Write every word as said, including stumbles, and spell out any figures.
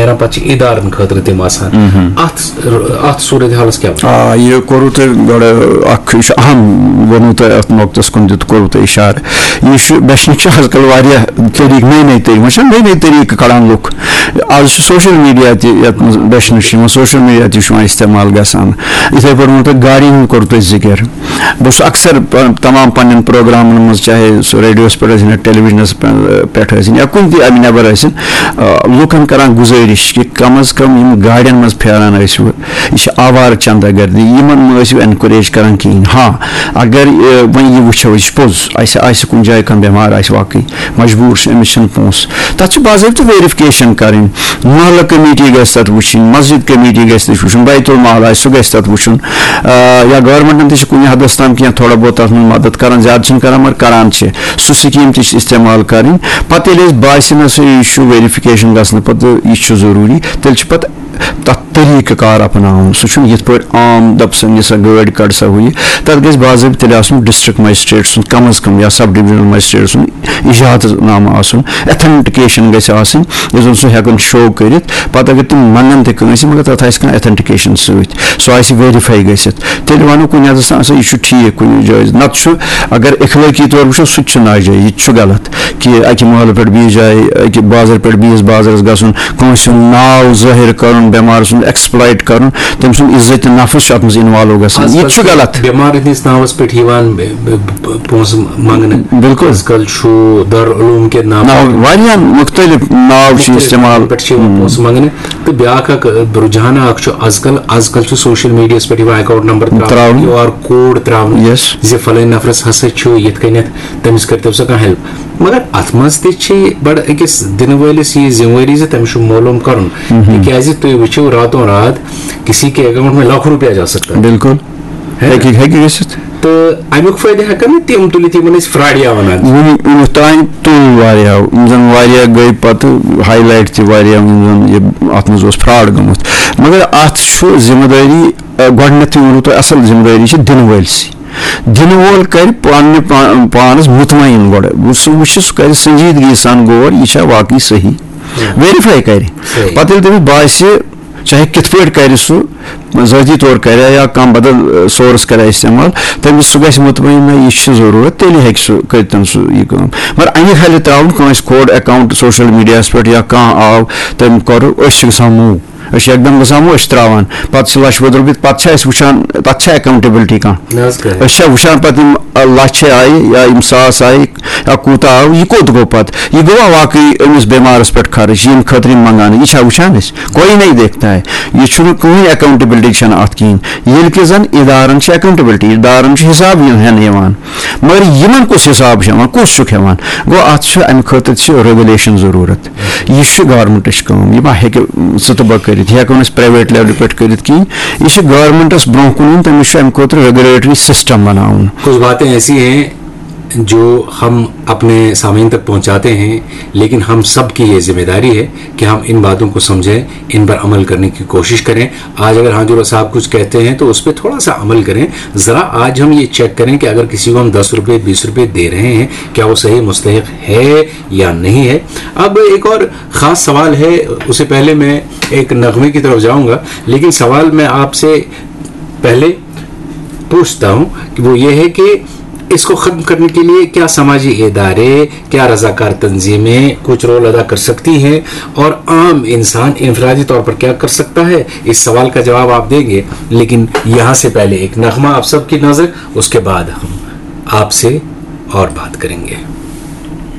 نیران، پتہٕ چھِ ادارن خٲطرٕ تِم آسان۔ اتھ اتھ صورت حالس کیٛاہ وَنو؟ آ، یہِ کوٚروٕ تۄہہِ گۄڈٕ اکھ، یہِ چھُ اہم، ووٚنوٕ تۄہہِ اتھ نۄقطس کُن دیُت، کوٚروٕ تۄہہِ اشارٕ۔ یہِ چھُ، بچنٕکۍ چھِ آز کل واریاہ طریٖقہٕ، نٔے نٔے طریٖقہٕ، وۄنۍ چھِ نٔے نٔے طریٖقہٕ کڑان لُکھ۔ آز چھُ سوشل میڈیا تہِ یتھ منٛز بچنٕکۍ چھِ یِوان، سوشل میڈیا تہِ چھُ یِوان استعمال گژھان۔ یِتھے پٲٹھۍ ووٚنوٕ تۄہہِ گاڑٮ۪ن ہُنٛد کوٚروٕ تۄہہِ ذِکر۔ بہٕ چھُس اکثر پ-، تمام پننٮ۪ن پروگرامن منٛز، چاہے سُہ ریڈیوس پٮ۪ٹھ ٲسِن یا ٹیلی ویژنس پٮ۪ٹھ ٲسِن یا کُنہِ تہِ امہِ نٮ۪بر ٲسِن، آ، لُکن کران گُزٲرِش کہِ کم از کم یِم گاڑٮ۪ن منٛز پھیران ٲسِو، یہِ چھِ آوارٕ چندہ گردی، یِمن مہٕ ٲسِو encourage کران کِہینۍ۔ ہاں، اگر، آ، وۄنۍ یہِ وٕچھو، یہِ چھُ پوٚز، اسہِ آسہِ کُنہِ جایہِ کانٛہہ بٮ۪مار آسہِ واقعی، مجبوٗر چھُ، أمِس چھِنہٕ پونٛسہٕ، تَتھ چھِ باضٲبطہٕ ویریفِکیشن کرٕنۍ۔ محلہٕ کمیٹی گژھِ تَتھ وٕچھِنۍ، مسجد کمیٹی گژھِ تَتھ وٕچھُن، بیت المال آسہِ، سُہ گژھِ تَتھ وٕچھُن۔ آ، یا گورمنٹن تہِ چھِ کُنہِ حدس تام کینٛہہ تھوڑا بہت تَتھ منٛز مدد کران، زیادٕ چھِنہٕ کران، مگر کران چھِ۔ سُہ سکیٖم تہِ چھِ استعمال کرٕنۍ۔ پتہٕ ییٚلہِ اَسہِ باسہِ، نہ سا، یہِ چھُ ویریفِکیشن گژھنہٕ پتہٕ، یہِ چھُ ضروٗری، تیٚلہِ چھِ پتہٕ تَتھ طریٖقہٕ کار اپناوُن۔ سُہ چھُنہٕ یِتھ پٲٹھۍ عام دَپہٕ سا، نہِ سا گٲڑۍ، کَڑ سا ہُہ یہِ۔ تَتھ گژھِ باضٲبطہٕ تیٚلہِ آسُن ڈسٹرکٹ مجسٹریٹ سُنٛد کم از کم، یا سب ڈویژنل مجسٹریٹ سُنٛد اجازت نامہٕ آسُن، ایتھنٹکیشن گژھِ آسٕنۍ، یُس زَن سُہ ہٮ۪کَن شو کٔرِتھ۔ پَتہٕ اگر تِم منٛگَن تہِ کٲنٛسہِ، مگر تَتھ آسہِ کانٛہہ ایتھنٹکیشن سۭتۍ، سُہ آسہِ ویریفاے گٔژھِتھ۔ تیٚلہِ وَنو کُنہِ حدس تام، سا، یہِ چھُ ٹھیٖک کُنہِ جایہِ۔ نَتہٕ چھُ، اگر اخلٲقی طور وٕچھو، سُہ تہِ چھُ ناجٲیز، یہِ تہِ چھُ غلط۔ کہِ اَکہِ محلہٕ پٮ۪ٹھ بیٚیِس جایہِ، اَکہِ بازرٕ پٮ۪ٹھ بیٚیِس بازرَس گژھُن، کٲنٛسہِ ہُنٛد ناو ظٲہِر کَرُن، بٮ۪مار سُنٛد ایکسپلایٹ کَرُن، تٔمۍ سُنٛد عزت نفس چھُ اَتھ منٛز انوالو گژھان۔ یہِ تہِ چھُ غلط۔ بٮ۪مار ہٕنٛدِس ناوَس پٮ۪ٹھ یِوان ب-، ب-، ب-، پونٛسہٕ منٛگنہٕ۔ بِلکُل۔ آز کل چھُ دارالعلوم کہِ ناوٕ ناو، واریاہَن مُختٔلِف ناو چھِ مُختٔلِف استعمال۔ ناوَن پٮ۪ٹھ چھِ یِوان پونٛسہٕ منٛگنہٕ۔ تہٕ بیٛاکھ اَکھ، آ، رُجحانہ اَکھ چھُ آز کل، آز کل چھُ سوشل میڈیاہَس پٮ۪ٹھ یِوان اکاؤنٹ نمبر ترٛاونہٕ، ترٛاونہٕ۔ کیو آر کوڈ ترٛاونہٕ، یس۔ زِ فلٲنۍ نفرَس ہسا چھُ یِتھ کٔنٮ۪تھ، تٔمِس کٔرۍتو سا کانٛہہ ہیلپ۔ مگر اتھ منٛز تہِ چھِ بڑٕ أکِس دِنہٕ وٲلِس یہِ ذمہٕ وٲری زِ تٔمِس چھُ معلوم کرُن۔ تِکیازِ تُہۍ وٕچھِو راتوں رات کسی کے اکاؤنٹ میں لاکھوں روپیہ جا سکتا ہے۔ بِلکُل۔ ہے نا؟ ہیٚکہِ، ہیٚکہِ گٔژھِتھ۔ تہٕ امیُک فٲیدٕ ہٮ۪کن نہٕ تِم تُلِتھ یِمن أسۍ فراڈیا ونان۔ وُنہِ، وُنیُک تام تُل واریاہو، یِم زن واریاہ گٔے پتہٕ ہائی لائٹ تہِ واریاہ، یِم زن یہِ اتھ منٛز اوس فراڈ گوٚمُت۔ مگر اتھ چھُ ذمہٕ دٲری، آ، گۄڈٕنیتھٕے ووٚنوٕ تۄہہِ، اصل ذمہٕ دٲری چھِ دِنہٕ وٲلۍ سٕے۔ دِنہٕ وول کرِ پننہِ پا-، پانس مطمئن گۄڈٕ۔ سُہ وٕچھِ، سُہ کرِ سنجیدگی سان غور، یہِ چھا واقعی صحیح۔ ویریفائی کرِ۔ صحیح۔ پتہٕ ییٚلہِ تٔمِس باسہِ، چاہے کِتھ پٲٹھۍ کرِ سُہ، ذٲتی طور کرِ یا کانٛہہ بدل، آ، سورس کرِ استعمال، تٔمِس سُہ گژھِ مطمئن، نہ، یہِ چھِ ضروٗرت، تیٚلہِ ہیٚکہِ سُہ کٔرِتھ سُہ یہِ کٲم۔ مگر انہِ کھلہِ ترٛاوُن کٲنٛسہِ کھوڑ اکاؤنٹ سوشل میڈیاہس پٮ۪ٹھ یا کانٛہہ آو، تٔمۍ کوٚر، أسۍ چھِ گژھان موٗ۔ أسۍ چھِ یکدم گژھان، أسۍ چھِ ترٛاوان۔ پتہٕ چھِ لچھ بوٚد رۄپیہِ، پتہٕ چھِ اَسہِ وٕچھان، پتہٕ چھا اکاؤنٹیبلٹی کانٛہہ؟ نہ حظ، کٕہٕنۍ۔ أسۍ چھا وٕچھان پتہٕ یِم، آ، لچھ آیہِ یا یِم ساس آیہِ یا کوٗتاہ آو، یہِ کوٚت گوٚو پتہٕ؟ یہِ گوٚوا واقعی أمِس بٮ۪مارس پٮ۪ٹھ خرٕچ، ییٚمہِ خٲطرٕ یِم منٛگان، یہِ چھا وٕچھان أسۍ؟ کوئی نہیں دیکھتا ہے۔ یہِ چھُنہٕ کٕہٕنۍ اکاؤنٹیبلٹی چھَنہٕ اَتھ کِہیٖنۍ۔ ییٚلہِ کہِ زن ادارن چھِ اکاؤنٹیبلٹی، ادارن چھُ حساب یُن ہٮ۪نہٕ یِوان۔ مگر یِمن کُس حساب چھُ ہٮ۪وان، کُس چھُکھ ہٮ۪وان؟ گوٚو، اتھ چھُ، امہِ خٲطرٕ چھِ ریگولیشن ضروٗرت۔ یہِ چھُ گورمنٹٕچ کٲم، یہِ ما ہیٚکہِ ژٕ تہٕ بہٕ کٔرِتھ، یہِ ہٮ۪کو نہٕ أسۍ پرایویٹ لیولہِ پٮ۪ٹھ کٔرِتھ کِہیٖنۍ۔ یہِ چھُ گورمنٹس برونٛہہ کُن یُن، تٔمِس چھُ امہِ خٲطرٕ ریگولیٹری سسٹم بناوُن۔ کچھ باتیں ایسی ہیں جو ہم اپنے سامعین تک پہنچاتے ہیں، لیکن ہم سب کی یہ ذمہ داری ہے کہ ہم ان باتوں کو سمجھیں، ان پر عمل کرنے کی کوشش کریں۔ آج اگر ہاں جوڑا صاحب کچھ کہتے ہیں تو اس پہ تھوڑا سا عمل کریں۔ ذرا آج ہم یہ چیک کریں کہ اگر کسی کو ہم دس روپے، بیس روپے دے رہے ہیں، کیا وہ صحیح مستحق ہے یا نہیں ہے۔ اب ایک اور خاص سوال ہے، اسے پہلے میں ایک نغمے کی طرف جاؤں گا، لیکن سوال میں آپ سے پہلے پوچھتا ہوں کہ وہ یہ ہے کہ اس کو ختم کرنے کے لیے کیا سماجی ادارے، کیا رضاکار تنظیمیں کچھ رول ادا کر سکتی ہیں اور عام انسان انفرادی طور پر کیا کر سکتا ہے؟ اس سوال کا جواب آپ دیں گے، لیکن یہاں سے پہلے ایک نغمہ آپ سب کی نظر، اس کے بعد ہم آپ سے اور بات کریں گے۔